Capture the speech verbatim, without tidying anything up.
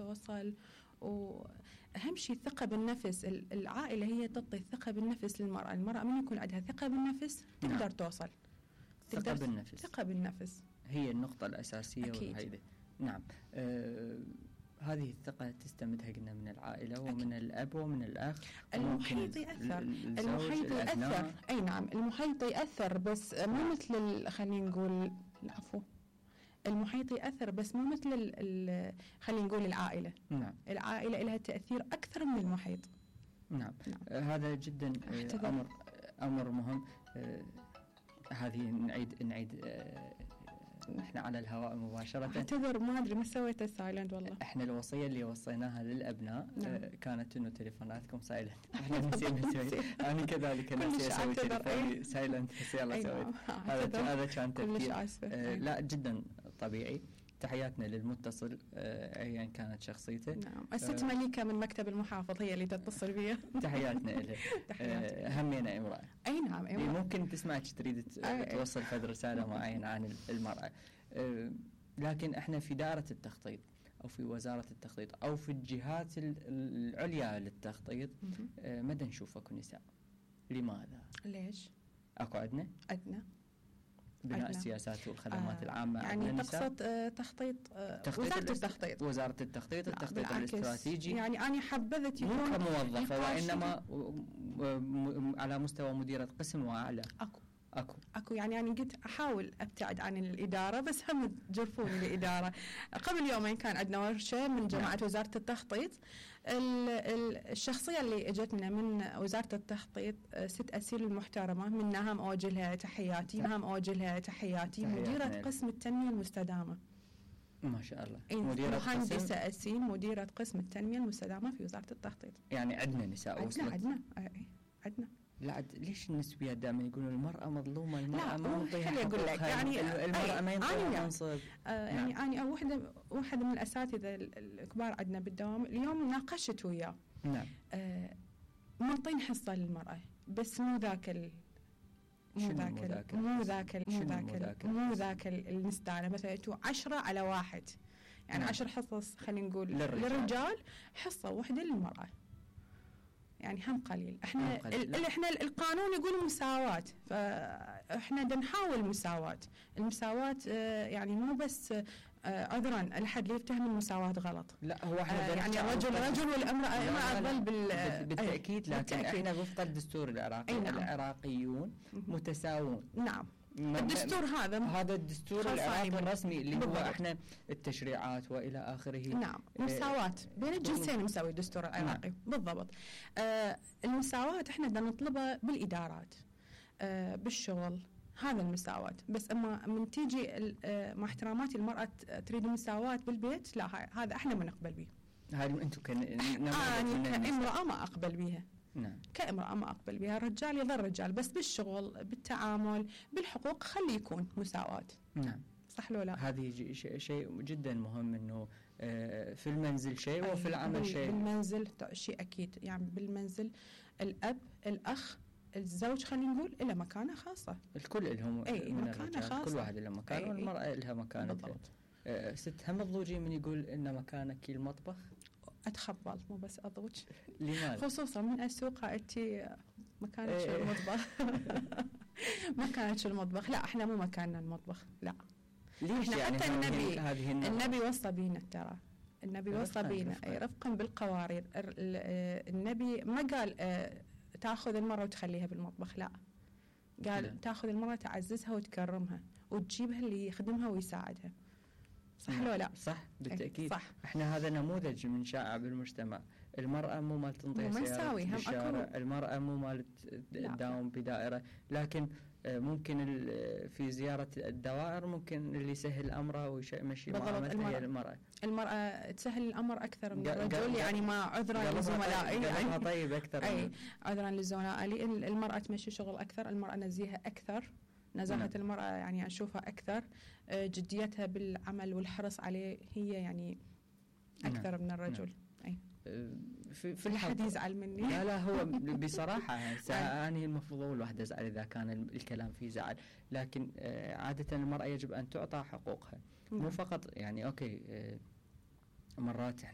توصل. وأهم شيء الثقة بالنفس، العائلة هي تعطي الثقة بالنفس للمرأة. المرأة من يكون عندها ثقة بالنفس تقدر نعم. توصل. ثقة بالنفس، ثقة بالنفس هي النقطة الأساسية. أكيد. نعم. آه هذه الثقة تستمدها قلنا من العائلة ومن أكيد. الأب ومن الأخ. المحيط يأثر، المحيط يأثر. أي نعم المحيط يأثر، بس مو مثل خلينا نقول العفو المحيط يأثر بس مو مثل خلينا نقول العائلة. نعم. العائلة لها تأثير أكثر من المحيط. نعم, نعم. آه هذا جدا آه أمر أمر مهم. آه هذه نعيد نعيد آه احنا على الهواء مباشرة. اعتذر ما ادري ما سويته سايلنت والله. احنا الوصية اللي وصيناها للابناء نعم. اه كانت انه تليفوناتكم سايلنت. احنا نسينا نسوي. انا كذلك نسيت اسوي تليفوني سايلنت بس يلا سويت. هذا هذا كان تفكير. اه لا جدا طبيعي. تحياتنا للمتصل اه ايا كانت شخصيته. نعم. الست اه مليكة من مكتب المحافظ هي اللي تتصل بي. تحياتنا لها. اه همينا امرأة. اي نعم امرأة. ممكن تسمعك تريد توصل فد رسالة معينة عن المرأة. اه لكن احنا في دائرة التخطيط او في وزارة التخطيط او في الجهات العليا للتخطيط اه مدى نشوف اكو نساء. لماذا؟ ليش؟ اكو عندنا؟ عندنا بناء عدنا. السياسات والخدمات آه العامة يعني تقصد آه تخطيط, آه وزارة التخطيط وزارة التخطيط التخطيط الاستراتيجي. يعني أنا حبذت يكون مو كموظفة وإنما على مستوى مديرة قسم وأعلى. أكو أكو أكو يعني أنا قلت أحاول أبتعد عن الإدارة بس هم جرفوني الإدارة. قبل يومين كان عندنا ورشة من جماعة نعم. وزارة التخطيط. الشخصية اللي اجتنا من وزارة التخطيط ست أسيل المحترمة، منها هم أوجه لها تحياتي هم أوجه لها تحياتي مديرة قسم التنمية المستدامة. ما شاء الله. مديرة مهندسة أسيل مديرة قسم التنمية المستدامة في وزارة التخطيط. يعني عندنا نساء وصلت. عندنا عندنا عندنا لا ليش النسبيات دائما يقولون المرأة مظلومة، المرأة ما نعطيها حقوقها؟ أقول لك يعني المرأة ما ينطيها منصب. آه يعني نعم. أنا واحدة واحدة من الأساتذة الكبار عندنا بالدوام اليوم ناقشت وياه. نعم. آه منطين حصة للمرأة بس مو ذاك ال مو ذاك مو ذاك مو ذاك مو ذاك المستعلى مثلا تو عشرة على واحد يعني نعم. عشر حصص خلينا نقول للرجال. للرجال حصة واحدة للمرأة يعني هم قليل. احنا ال احنا القانون يقول مساواة، فاحنا بدنا نحاول مساواة. المساواة اه يعني مو بس اه عذرا الأحد اللي يفتهم المساواة غلط. لا هو احنا اه يعني الرجل رجل والامرأة امرأة ظل بال بالتأكيد. لكن بالتأكيد. احنا وفق الدستور العراقي نعم. العراقيون متساوون. نعم. الدستور هذا هذا الدستور العراقي الرسمي اللي بالضبط. هو احنا التشريعات والى اخره. نعم. مساواة بين الجنسين مساوي الدستور العراقي. نعم. بالضبط. آه المساواة احنا بدنا نطلبها بالادارات آه بالشغل، هذا المساواة. بس اما من تيجي آه مع احتراماتي المرأة تريد المساواة بالبيت لا هذا احنا ما نقبل به. هذه انتم كان انا كامرأة ما اقبل بها. نعم. كامرأة ما أقبل بها. الرجال يظل رجال بس بالشغل بالتعامل بالحقوق خلي يكون مساواة. نعم. صح لو لا؟ هذه شيء جدا مهم انه في المنزل شيء وفي العمل شيء. بالمنزل شيء اكيد يعني بالمنزل الاب الاخ الزوج خلينا نقول له مكانه خاصة. الكل لهم مكانه خاصة. كل واحد له مكانه والمرأة لها مكانتها. أه ست هم الضوجي من يقول ان مكانك المطبخ. أتخبل مو بس أضوج. لماذا؟ خصوصا من أسوق أتي مكانك ايه المطبخ. مكانك المطبخ لا إحنا مو مكاننا المطبخ لا. ليش إحنا يعني حتى النبي النبي وصى بينا ترى النبي وصى بينا رفقا بالقوارير. النبي ما قال تأخذ المرأة وتخليها بالمطبخ لا قال لا. تأخذ المرأة تعززها وتكرمها وتجيبها اللي يخدمها ويساعدها. صح ولا لا؟ صح بالتأكيد. صح. احنا هذا نموذج من شائع بالمجتمع. المرأة مو مال تنطي سيارة بالشارع، المرأة مو مال تداوم بدائرة، لكن ممكن في زيارة الدوائر ممكن اللي يسهل أمره ويمشي معاملته هي المرأة. المرأة تسهل الأمر أكثر من الرجل يعني ما عذرا لزملائي يعني طيب أكثر أي عذرا لزملائي المرأة تمشي شغل أكثر، المرأة نزيهة أكثر، نزاهة نعم. المرأة يعني أشوفها أكثر، جديتها بالعمل والحرص عليه هي يعني أكثر نعم. من الرجل نعم. أي في في الحد يزعل مني. لا لا هو بصراحة أنا المفروض الواحد يزعل إذا كان الكلام فيه زعل، لكن عادة المرأة يجب أن تعطى حقوقها. مو فقط يعني أوكي مرات